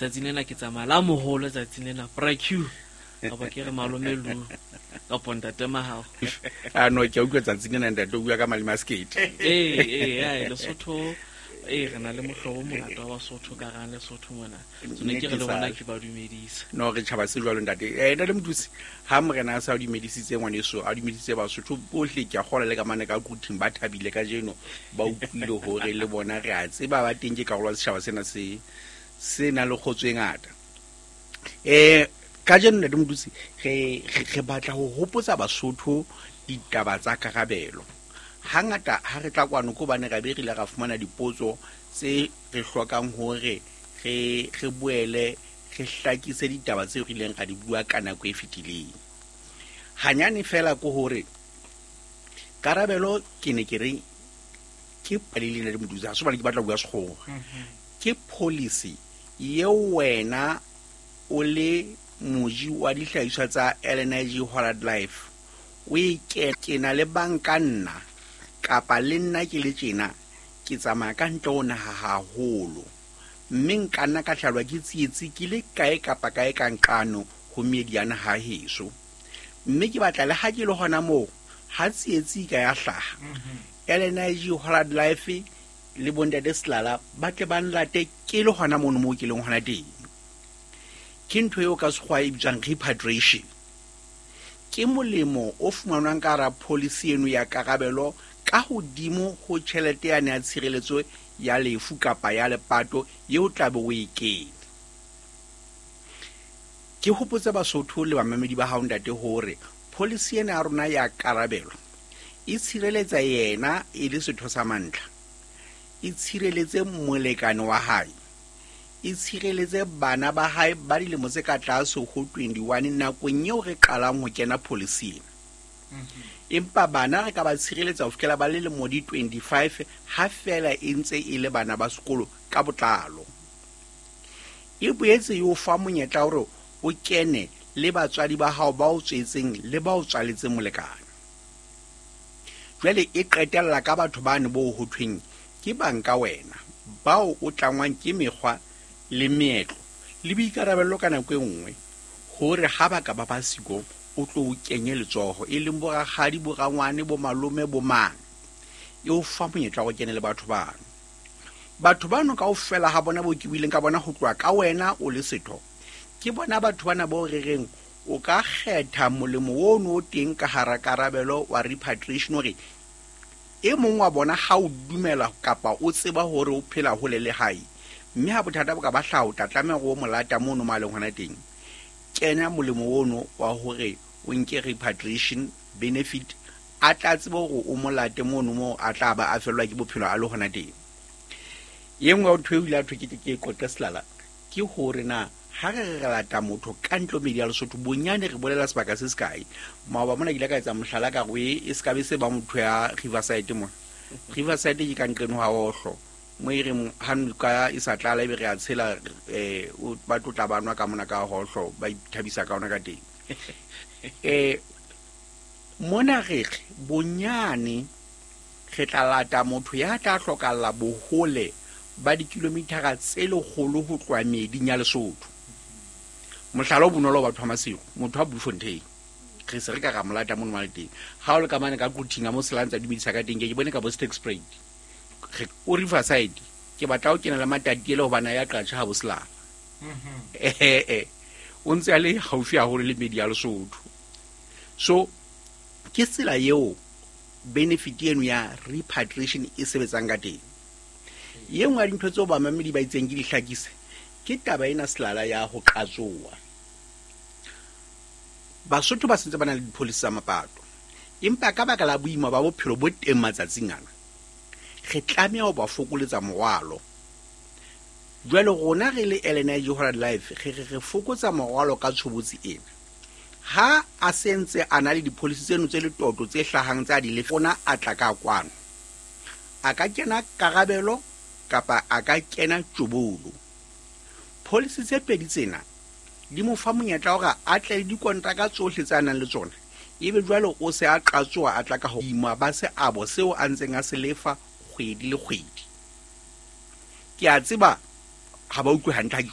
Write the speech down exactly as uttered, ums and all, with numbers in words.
Tsatsing lena ke tsamaya la moholo tsatsing lena Bra Q. Kapa ke re malome Lu kapa ntate Mahao. A no, ke a utlwa tsatsing lena ntate o bua ka maleme a sekete. Ee, ee, ae, Lesotho ee, re na le mohlobo o mongata wa Basotho ka hara Lesotho mona. So ne ke re le bona ke ba dumedisa. No, re tjhaba se jwalo ntate. Eh ntate Mothusi, ha morena a sa o dumedisitse ngwaneso, a dumedisitse Basotho bohle, ke a kgolwa le ka mane ka Quthing ba thabile kajeno, ba utlwile hore le bona re a tseba ba teng ke karolo ya setjhaba sena se se nang le kgotso e ngata. Eh kajeno ntate Mothusi, re re re batla ho hopotsa Basotho ditaba tsa karabelo. Hangata ha re tla kwano ke hobane ra be re ile ra fumana dipotso tse re hlokang hore re re boele re hlakise ditaba tseo re ileng ra di bua ka nako e fetileng. Hanyane fela ke hore karabelo ke ne ke re ke palele ntate Mothusi, ha se hobane ke batla ho bua sekgowa. Ke policy eo wena o le moji wa dihlahiswa tsa L N I G Hollard Life o e ke ke na le banka nna kapa le nna ke le tjena ke tsamaya ka ntle ho naha haholo, mme nka nna ka hlahelwa ke tsietsi ke le kae kapa kae ka nqano ho meedi ya naha heso, mme ke batla le ha ke le hona moo ha tsietsi ka ya hlaha L N I G Hollard Life le bontate Selala ba tle ba nlate ke le hona mono moo ke leng hona teng. Ke ntho eo ka sekgowa e bitswang repatriation. Ke molemo o fumanwang ka hara policy eno ya karabelo ka hodimo ho tjhelete yane ya tshireletso ya lefu kapa ya lepato eo tla be o e kene. Ke hopotse Basotho le bamamedi ba hao ntate hore policy ena ya rona ya karabelo e tshireletsa yena e le setho sa mantlha, e tshireletse molekane wa hae, e tshireletse bana ba hae ba dilemo tse ka tlase ho twenty-one nakong eo re qalang ho kena policy ena. Empa bana re ka ba tshireletsa ho fihlela ba le lemo di twenty-five ha fela e ntse e le bana ba sekolo ka botlalo. E boetse e o fa monyetla hore o kene le batswadi ba hao ba o tswetseng le ba o tswaletseng molekane. Jwale e qetella ka batho bane bo ho thweng ke banka wena, bao o tlangwang ke mekgwa le meetlo le boikarabello ka nako e nngwe hore ha ba ka ba ba siko o tlo o kenye letsoho, e leng bo rakgadi, bo rangwane, bo malome, bo mang. E o fa monyetla wa ho kene le batho bano. Batho bano kaofela ha bona bo ke buileng ka bona ho tloha ka wena o le setho, ke bona batho bana bo re reng o ka kgetha molemo ono o teng ka hara karabelo wa repatriation hore e mong wa bona ha o dumela kapa o tseba hore o phela hole le hae, mme ha bothata bo ka ba hlaha o tla tlameha hore o mo lata mono mo a leng hona teng. Kenya molemo ono wa hore o nke repatriation benefit, a tla tsebe hore o mo late mono moo a tla ba a fellwa ke bophelo a le hona teng. E nngwe ya ntho eo ile ya thwe ke tle ke e qoqe Selala ke hore na ha re re re lata motho ka ntle ho meedi ya Lesotho, bonyane re bolela sebaka se sekae. Maoba mona ke ile ka etsa mohlala ka hore e, e se ka be se ba motho ya Riverside mona. Riverside ke ka nqeno ha Ohlo, mo e reng ha noka e sa tlala ebe re a tshela, eh, o, ba tlo tla ba nwa ka mona ka Ohlo, ba ithabisa ka ona ka teng. Eh, mona re re bonyane re tla lata motho ya tla hlokalla bohole ba dikilomitara tse lekgolo ho tloha meeding ya Lesotho. Mohlala o bonolo wa batho ba Maseru, motho wa Bloemfontein, re se re ka ra mo lata mono mo teng. Ha o le ka mane ka Quthing a mo sela ntse a dumedisa ka teng, ke ke bone ka bo Sterkspruit. Re o Riverside, ke batla ho kena le Matatiele hobane ya qatjha ha bo Selala. Eh, eh, o ntse a le haufi haholo le meedi ya Lesotho. So ke tsela eo benefit eno ya repatriation e sebetsang ka teng. E nngwe ya dintho tseo bamamedi ba itseng ke di hlakise ke taba ena Selala ya ho qatsoa. Basotho ba sentse ba na le dipolisi tsa mapato, empa ka baka la boima ba bophelo bo teng matsatsing ana, re tlameha ho ba fokoletsa morwalo. Jwale rona re le L N I G Hollard Life re re re fokotsa morwalo ka tshobotsi ena. Ha a sentse a na le dipolisi tseno tse letoto tse hlahang tsa di lefa, rona a tla ka kwano, a ka kena karabelo kapa a ka kena tjobolo. Policy tse pedi tsena di mo fa monyetla hore a tle le dikontraka tsohle tse a nang le tsona, ebe jwale o se a qatsoa a tla ka hodimo ba seabo seo a ntseng a se lefa kgwedi le kgwedi. Ke a tseba ha ba utlwe hantle ha ke